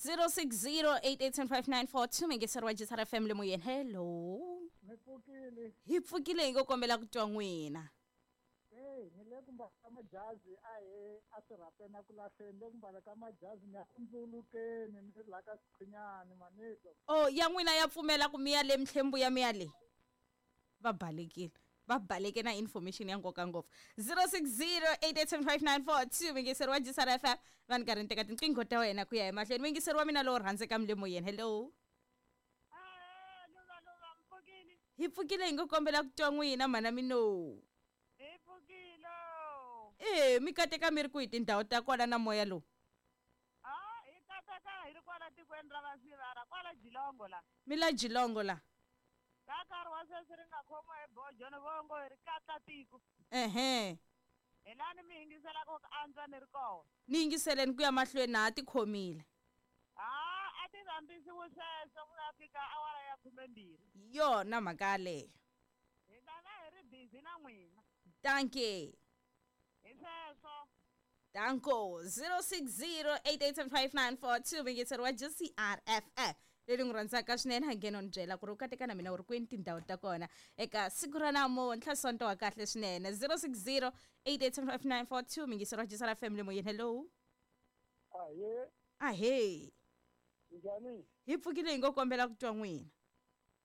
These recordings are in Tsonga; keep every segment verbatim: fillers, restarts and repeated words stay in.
zero six zero eight eight seven five nine four two mingiseri wa G C R F M le moyeni. Hello. Mi pfukile. Hi pfukile hi ngo kombela ku twa n'wina. Hey, ni le ku mbala ka majazi a hi a swirhapeni a ku lahleni le ku mbala ka majazi ni ya ku ndzulukeni ni ri la ka Sikhwinyani manito. Oh, ya n'wina ya pfumela ku mi ya le Mhlembhu ya mi ya le. Va balekile. Va baleke na information ya nkoka ngopfu. zero six zero eight eight seven five nine four two mingiseri wa G C R F M va ni karhi ni teka tinqingho ta wena ku ya emahlweni. Mingiseri wa mina lowo rhandzeka mi le moyeni. Hello. Hi pfukile hi ngo kombela ku twa n'wina mhana mino. Hi pfukile. Eh, mi kateka mi ri kwihi tindhawu ta kwala na moya lowu? Ah, hi kateka hi ri kwala tikweni ra Vasivara, kwala Jilongo la. Mi la Jilongo la. Ka nkarhi wa sweswi ri nga khomiwa hi bojo ni vongo hi ri katla tiko. Ehe. Hi lani mi yingiselaka ku antswa ni ri kona. Ni yingiseleni ku ya mahlweni na ha tikhomile. Ah, a ti rhambisiwi sweswo ku ya fika awara ya khumembirhi. Yona mhaka yaleyo. Hi ta va hi ri busy na n'wina. Dankie. Hi sweswo. Danko zero six zero eight eight seven five nine four two mingiseri wa G C R F M leri n'wi rhandzaka swinene ha nghena ni byela ku ri u kateka na mina u ri kwini tindhawu ta kona eka siku ra namuntlha Sonto wa kahle swinene. zero six zero eight eight seven five nine four two mingiseri wa G C R F M le moyeni. Hello. Ahee. Ahee. Njhani? Hi pfukile hi ngo kombela ku twa n'wina.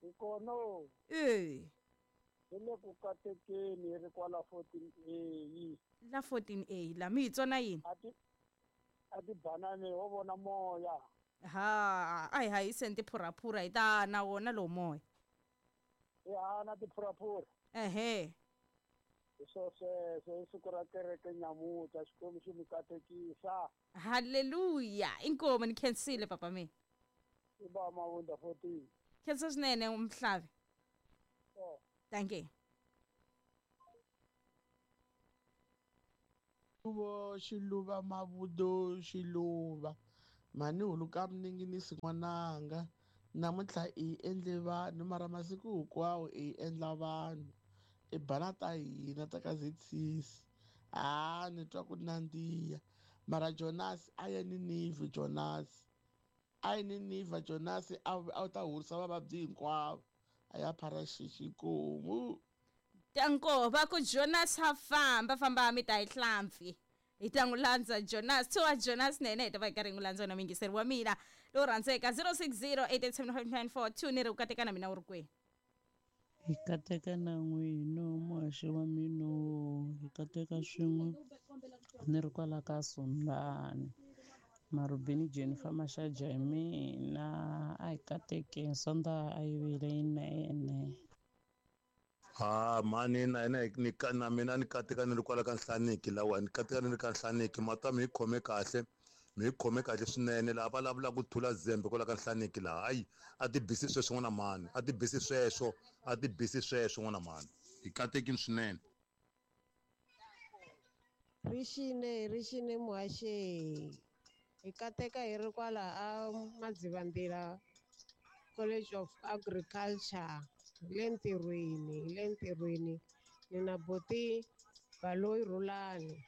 Hi kona. Eh. Hi le ku katekeni hi ri kwala fourteen A. La fourteen A la mi hi tsona yini? A ti a ti banane wo vona moya. Ha, a hi hayiseni tiphuraphura hi ta na wona lowu moya. Hi hana tiphuraphura. Ehe. Hi swo sweswo hi siku ra kereke nyamuta Xikwembu xi mi katekisa. Hallelujah. Inkomo ni khensile papa mina. I ba Mavunda fourteen. Khensa swinene Mhlavi. Oh. Thank you. Xiluva xiluva mavudo xiluva mhani huluka mininginisi n'wananga namuntlha i endle vanhu mara masiku hinkwawo i endla vanhu i bana ta hina ta ka Z six a ni twa ku nandziha mara Jonas a ye Ninivha Jonas a ye Ninivha Jonas a a ta horisa vavabyi hinkwavo a ya phara xixikomu. Tanko va ku Jonas ha famba famba mi ta hi hlampfi hi ta n'wi landza Jonas to Jonas nene hi ta va hi karhi n'wi landza na mingiseri wa mina lowu rhandzeka zero six zero eight eight seven five nine four two ni ri u kateka na mina u ri kwihi. Hi kateka na n'wina muhaxi wa mina hi kateka swin'we ni ri kwala ka Sundani Marubini Jennifer Mashaja hi mina a hi katekeni Sondaha a yi vile yinene. Ha mani na ina ni na mina ni kateka ni ri kwala ka Nhlaniki lawa ni kateka ni ri ka Nhlaniki mata mi hi khome kahle mi hi khome kahle swinene laha va vulavulaka ku thula zembe kwala ka Nhlaniki laha hayi a ti bisi sweswo n'wana mani a ti bisi sweswo a ti bisi sweswo n'wana mani hi katekini swinene. Rixine rixine muhaxi hi kateka hi ri kwala a Madzivandila College of Agriculture le ntirhweni le ntirhweni ni na boti Baloyi Rhulani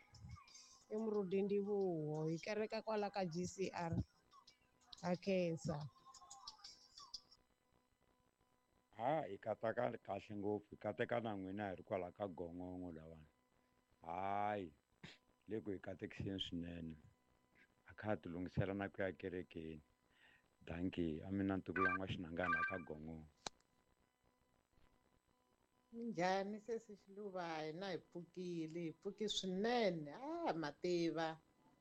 i Murudi Ndivuho hi kereka kwala ka G C R ha khensa. Ha hi kateka kahle ngopfu hi kateka na n'wina hi ri kwala ka Gongongo lawani hayi le ku hi katekiseni swinene a kha ha ti lunghisela na ku ya kerekeni. Dankie a mina ntukulu wa N'waxinangana ka Gongongo. Njhani sesi Xiluva hina hi pfukile hi pfuki swinene a mativa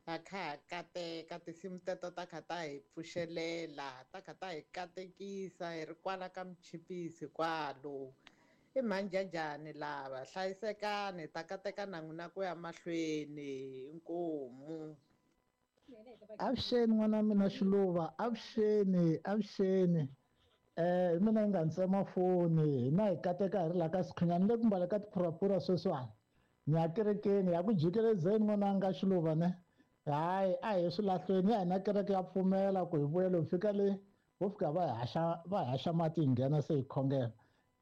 ha kha ha kateka tinsimu teto ta kha ta hi pfuxelela ta kha ta hi katekisa hi ri kwala ka Michipisi kwalo i mhanjajani lava hlayisekani ta kateka na n'wina ku ya mahlweni inkomu. Avuxeni n'wana mina Xiluva avuxeni avuxeni eh mina nga ntsema foni hina hi kateka hi ri la ka Sikhwinyani le ku mbala ka tiphuraphura sweswiwani ni ya kerekeni ya ku jikelezeni n'wananga Xiluva ne hayi a hi swilahlweni ya hina kereke ya pfumela ku hi vuyelo hi fika le ho fika va hi haxa va hi haxa mati hi nghena se hi khongela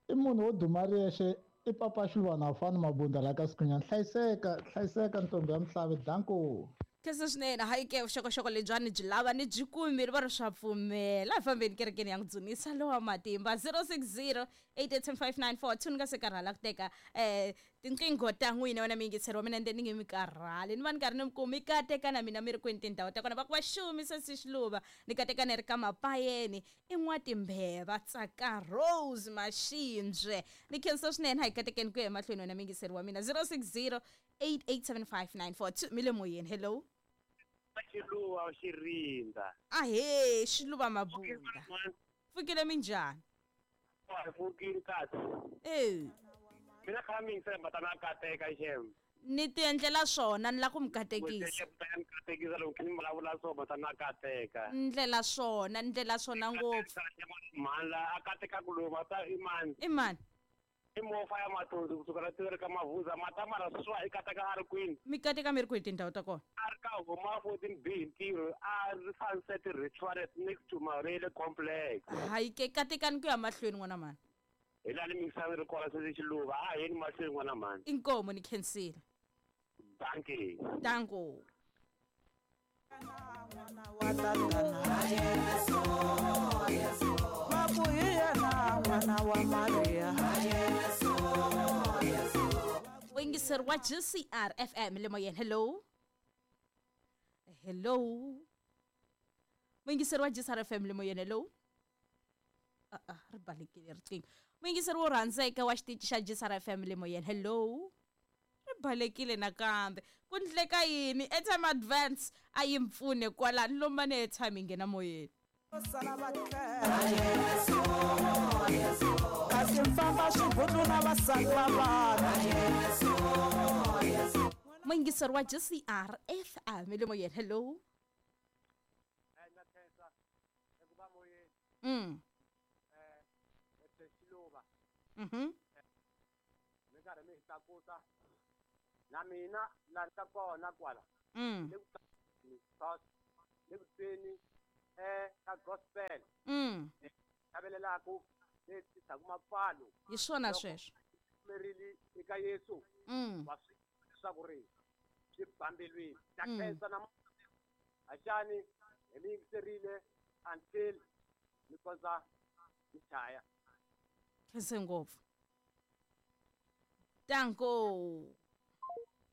i munhu wo duma riyexe i papa Xiluva na fani Mabunda la ka Sikhwinyani hlayiseka hlayiseka ntombi ya Mhlavi danko. Khensa swinene. Hayi ke vuxokoxoko lebyiwani byi lava ni byi kumile va ri swa pfumela. A hi fambeni kerekeni ya n'wi dzunisa lowa matimba zero six zero eight eight seven five nine four two. Ni nga se karhala ku teka um tinqingho ta n'wina wena miyingiseri wa mina, ende ni nge mi karhali, ni va ni karhi ni mi kumi. Mi kateka na mina mi ri kwini tindhawu ta kona? Va ku va xumi sesi Xiluva, ni kateka ni ri ka Mapayeni i N'watimbheva Tsaka Rose Mashimbye. Ni khensa swinene. Ha hi katekeni ku ya emahlweni wena miyingiseri wa mina zero six zero eight eight seven five nine four two. Mi le moyeni. Hello. Xiluva Xirindza. Ahee, Xiluva Mabunda. Pfukile minjhani? Pfukile kahle. Eh. Mina kha mi yingisela ta na kateka xem. Ni ti endlela swona, ni la ku mi katekisa. Mi katekisa loko ni vulavula swona ta na kateka. Ndlela swona, ndlela swona ngopfu. Mhani la a kateka ku loyi ta i mani? I mani? I mofa ya Mathonsi kusuka la tiveri ka Mavuza mata mara sweswiwa i kateka a ri kwini? Mi kateka mi ri kwihi tindhawu ta kona? A ri ka Huma fourteen B hi ntirho, a ri Sunset Restaurant next to Marele Complex. Hayi ke, katekani ku ya mahlweni n'wana mhani. Hi laha ni mingisani ri kona sesi Xiluva, a yeni mahlweni n'wana mhani. Inkomu, ni khensile. Dankie. Danko. Wingiseri wa G C R F M le moyeni. Hello. Hello. Wingiseri wa G C R F M le moyeni. Hello. Ah ah, ri balekile riqingho. Wingiseri wo rhandzeka wa xitichi xa G C R F M le moyeni. Hello. Ri balekile nakambe. Ku ndleka yini? Airtime advance a yi mpfune kwalani lomba ni airtime yi nghena moyeni. Muyingiseri wa G C R F M le moyeni. Hello. Mm. Mhm. Mi karhi mi tlakusa na mina la ni ka kona kwala. Mm. Le ku tweni eh ka gospel. Mm. Xavelelaku le tisaku mapfalo. Hi swona sweswo. Merile eka Yesu. Mm. Wa swi leswaku ri swi bambelweni. Ta khensa na Haxani hi mi yingiserile until mi kondza mi chaya. Khense ngopfu. Danko.